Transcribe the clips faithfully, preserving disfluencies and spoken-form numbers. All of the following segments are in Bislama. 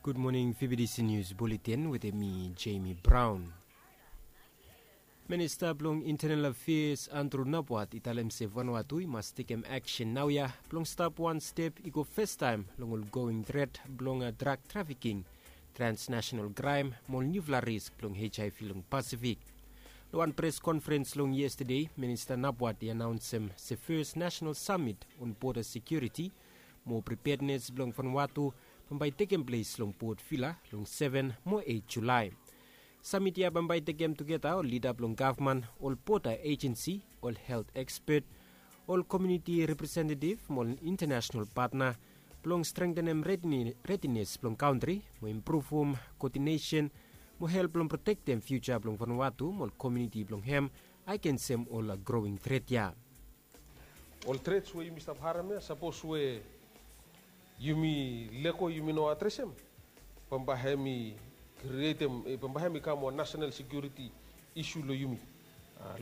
Gud moning, V B D C News Bulletin wetem mi, Jamie Brown. Minista blong Internal Affairs Andrew Nabwat i talem se Vanuatu i mas tekem aksen naoia blong stap wan step i go fastaem long ol going tret blong drug trafficking, transnational crime mo ol niufala risk blong H I V long Pasifik. Long wan pres konferens long yestade, Minista Nabwat i anaonsem se fes nasenal samit on boda sekiuriti mo preparednes blong Vanuatu bambae i tekem ples long Port Vila long seven mo eight Julae. Samit ya bambae i tekem tugeta ol lida blong gavman, ol boda ejensi, ol helt ekspet, ol komuniti representetiv mo ol intanasenal patna blong strengtenem redines blong kantri mo impruvum koodinesen mo help blong protektem fiuja blong Vanuatu mo ol komuniti blong hem agensem ol growing tret ya. Ol trets we yumi stap harem ya, sapos we yumi lego, yumi no adresem, bambae hem i krietem, bambae hem i kam wan nasenal sekiuriti isu long yumi,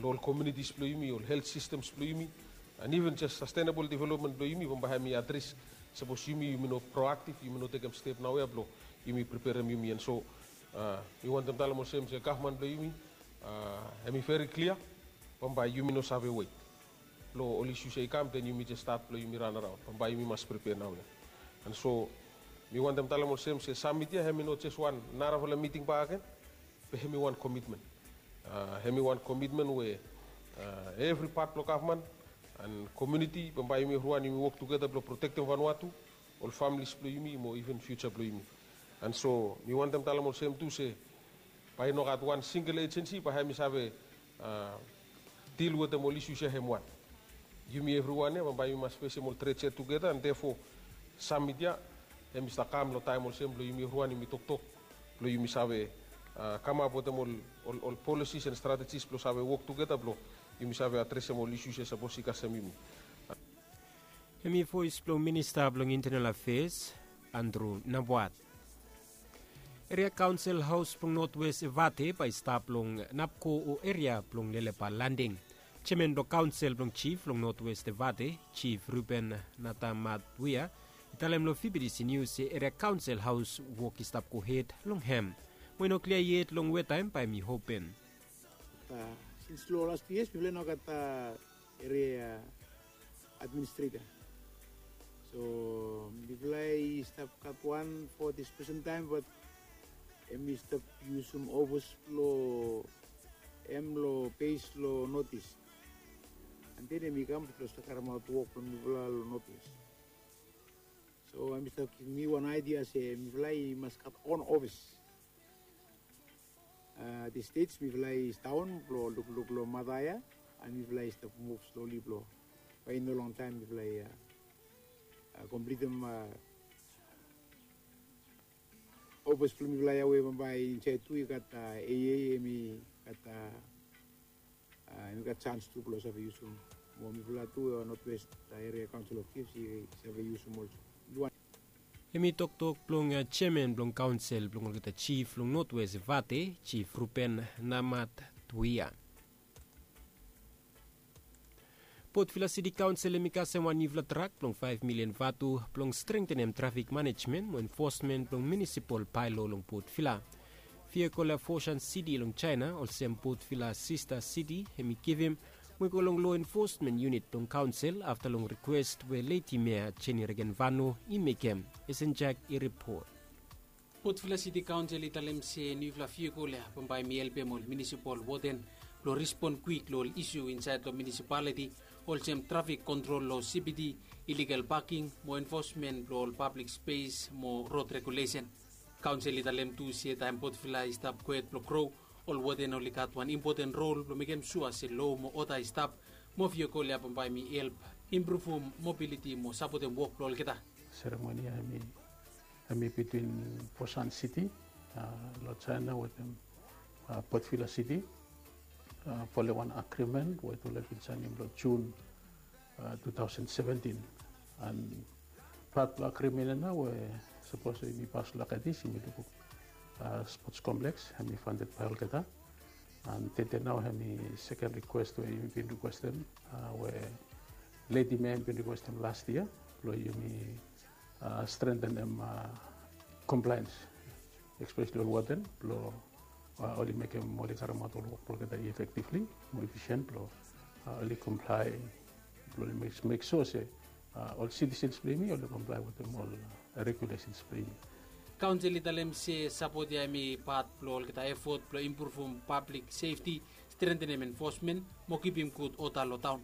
long ol komunitis blong yumi, ol helt sistems blong yumi, and even jes sastenabol developmen blong yumi bambae hem i adres sapos yumi yumi no proaktiv, yumi no tekem step naoia blong yumi preperem yumi. And so mi wantem talem olsem se gavman blong yumi hem i veri klia, bambae yumi no save wet. Blong ol isus ya i kam, den yumi jes stat blong yumi ran araon. Bambae yumi mas prepea naoia. And so mi wantem talem olsem se samit ya hem i no jes wan narafala miting bak agen, be hem i wan komitmen. Hem i wan komitmen we evri pat blong gavman and komuniti bambae yumi evriwan yumi wok tugeta blong protektem Vanuatu, ol familis blong yumi mo even fiuja blong yumi. And so mi wantem talem olsem tu se bae i no gat wan singel ejensi bae hem i save dil wetem ol isus ya hem wan. Yumi evriwan ya bambae yumi mas fesem ol trets ya tugeta, and therefore samit ya hem i stap kam long taem olsem blong yumi evriwan yumi toktok blong yumi save kamap wetem ol, ol, ol polisis and stratejis blong save wok tugeta blong yumi save adresem ol isus ya sapos i kasem yumi. Hem i voes blong Minista blong Internal Affairs, Andrew Nabwat. Eria Kaonsel Haos blong Notwes Evate bae i stap long Napko o eria blong Lelepa Landing. Jeaman blong kaonsel blong jif long Notwes Evate, Jif Ruben Natamatwia, i talem long V B D C News se Eria Kaonsel Haos wok i stap gohed long hem. Mo i no klia yet long we taem bae hem i open. Sins long las tu yias mifala i no gat eria administreta. So mifala i stap gat wan fo dis presen taem, bat hem i stap yusum ofis blong hem long bes long North East. And then hem i kam blong stap karemaot wok blong mifala long North East. So hem i stap givim mi wan aedia se mifala i mas gat on ofis. Dis stej mifala i sidaon blong lukluk long mata ya, and mifala i stap muv sloli blong bae i no longtaem mifala i komplitim ofis blong mifala ya we bambae insaed tu i gat A A, hem i gat, hem i gat sans tu blong save yusum. Mo mifala tu North West Area Council of Chiefs i save yusum olsem. Hem i toktok blong jeaman blong kaonsel blong olgeta jif long Notwes Evate, Jif Ruben Namatwia. Port Vila City Council hem i kasem wan niufala trak blong faef milian vatu blong strengtenem trafik manejmen mo enfosmen blong munisipal baelo long Port Vila. Vehicle ya Foshan City long Jaena olsem Port Vila Sista City hem i givim, mo i go long lo enfosmen yunit blong kaonsel afta long rikwes we Ledi Mea Jenny Regenvanu i mekem. Esenjak i ripot. Port Vila City Council i talem se niufala vehicle ya bambae hem i helpem ol munisipal warden blong respon kwik long ol isu insaed long munisipaliti, olsem trafik kontrol long C B D, iligal paking mo enfosmen blong ol pablik spes mo rod regulesen. Kaonsel i talem tu se taem Port Vila i stap kwet blong gro, ol warden oli gat wan impoten rol blong mekem sua se lo mo oda i stap, mo vehicle ya bambae hem i help impruvum mobiliti mo sapotem wok blong olgeta. Seremoni ya hem i, hem i bitwin Foshan City long Jaena wetem Port Vila City folem wan agrimen we tufala i bin saenem long Jun two thousand seventin. And pat blong agrimen ya nao we sapos yumi pas long Akedis yumi lukluk spots kompleks hem i fanded bae olgeta. And tede nao hem i seken rikwes we yumi bin rikwestem, we Ledi Mea hem i bin rikwestem las yia blong yumi strengtenem, em, komplaens especially ol warden, blong oli mekem oli karemaot ol wok blong olgeta effectively, mo efficient blong oli comply, blong oli make sure se ol citizens blong yumi oli comply wetem ol regulations blong yumi. Kaonsel i talem se sapot ya hemi pat blong olgeta effort blong impruvum public safety, strengthenem enforcement mo kipim gud oda long taon.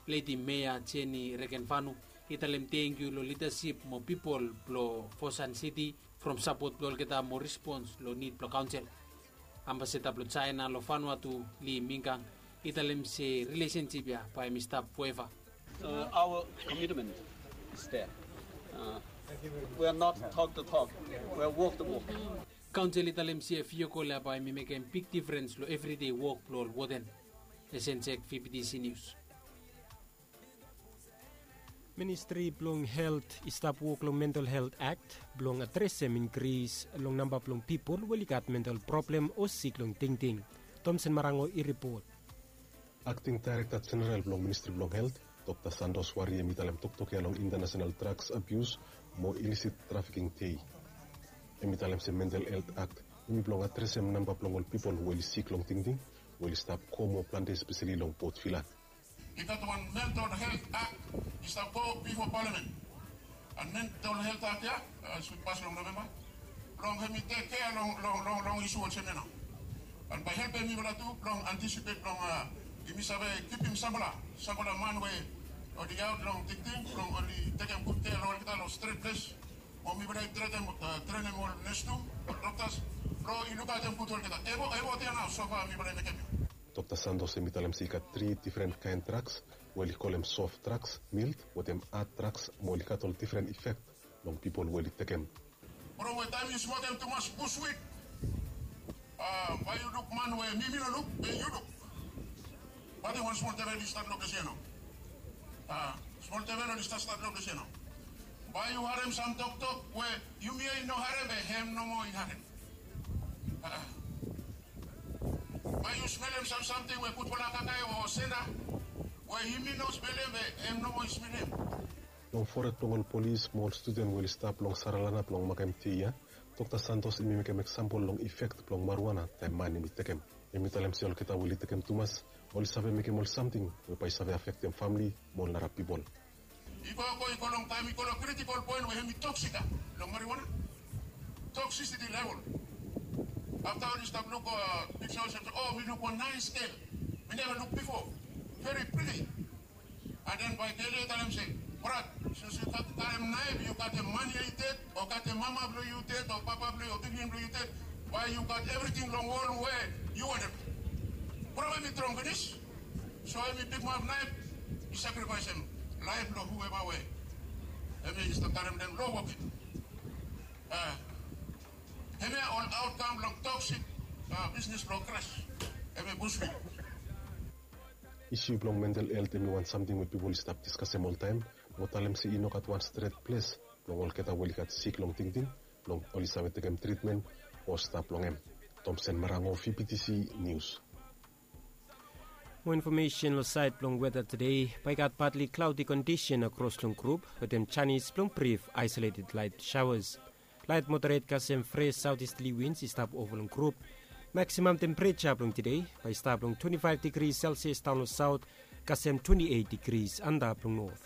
Lady Mayor Jenny Regenvanu i talem tangkiu long lidasip mo pipol blong Fosun City from sapot blong olgeta mo respons long nid blong kaonsel. Ambasada blong China long Vanuatu, Li Mingang, i talem se rilesensip ya bae hemi stap foeva. Our commitment is there. We are not talk the talk, we are walk the walk. Kaonsel i talem se viokol ya bae hemi mekem big difrens long evridei wok blong ol warden. Esensek, VBTC News. Ministri blong Helt i stap wok long Mental Helt Akt blong adresem inkris long namba blong pipol we oli gat mental problem o sik long tingting. Tomsen Marango i ripot. Akting Daerekta Jeneral blong Ministri blong Helt, Dokta Santos Wari, hem i talem toktok ya long International Drugs Abuse mo Illicit Trafficking Day. Hem i talem se Mental Helt Akt hem i blong adresem namba blong ol pipol we oli sik long tingting, we oli stap go moa plante, espeseli long Port Vila. I gat wan Mental Helt Akt i stap go bifo Palamen. An Mental Helt Akt ya, hemi pas long Novemba, blong hemi tek kea long isu olsem ya nao. An bae helpem mifala tu blong antisipet blong yumi save kipim samfala, samfala man we oli aot long tingting blong oli tekem gud kea long olgeta long stret ples. Mo mifala i trenem ol nes tu, ol doktas, blong i lukaotem gud olgeta. Evot ya nao sofa mifala i mekem ya. Dokta Santos hem i talem se i gat tri difren kaen draks we oli kolem soft draks, mild, wetem had draks, mo oli gat ol difren ifek long pipol we oli tekem. From we taem yu smokem tumas bush wit, bae yu luk man we mi mi no luk, be yu luk. Bat wan smol devel i stat long ples ya nao. Smol devel oli stat stat long ples ya nao. Bae yu harem sam toktok we yumi ya i no harem, be hem nomo i harem. Bae yu smelem sam samting we gudfala kakae o senda we yumi no smelem, be hem nomo i smelem. Long fored blong ol polis mo ol studen we oli stap long Saralana blong makem dei ya, Dokta Santos hem i mekem eksampol long ifek blong marijuana taem man hem i tekem. Hem i talem se olgeta we oli tekem tumas oli save mekem ol samting we bae i save afektem famle mo ol nara pipol. I gogo i go long taem i go long kritikol poen we hem i toksik ya long marijuana. Toksisiti level. Afta oli stap luk piksa olsem se, o, mi luk wan naes gel mi neva luk bifo, veri priti. An den bae gel ya i talem se, brat, since yu gat karem naef, yu gat hem man ya i ded, o gat hem mama blong yu ded, o papa blong yu, o pikinini blong yu ded, bae yu gat evriting long wol we yu wantem. Bro, hem i trong finis. So hem i pikimap naef, i sakrifaesem laef blong hueva we hem i stap karem den long wok ya. Hemia ol aotkam blong toksik bisnis blong kras. Hemia bush wit. Isu blong mental helt hemi wan samting we pipol i stap diskasem oltaem mo talem se i no gat wan stret ples blong olgeta we oli gat sik long tingting blong oli save tekem tritmen o stap long hem. Tomsen Marango, VBTC Nius. Mo infomesen long saed blong weta tede, bae i gat patli klaodi kondisen akros long grup wetem janis blong brif aesoleted laet saoas. Laet moderet kasem fres saotisterli wins i stap ova long grup. Maksimam tempereja blong tede bae i stap long twenti faef digri selsias daon long saot kasem twenti eit digri antap long not.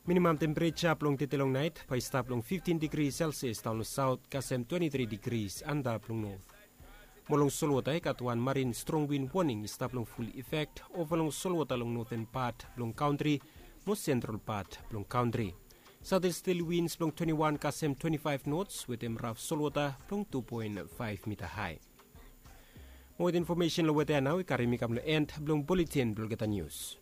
Minimam tempereja blong tede long naet bae i stap long fiftin digri selsias daon long saot kasem twenti tri digri antap long not. Mo long solwota i gat wan marin strong win woning i stap long ful ifek ova long solwota long noten pat blong kantri mo sentral pat blong kantri. Saotisterli wins blong twenti wan kasem twenti faef nots wetem raf solwota blong tu poen faef mita hae. Mo weta infomesen long weta ya nao i karim mi kam long en blong buletin blong olgeta nius.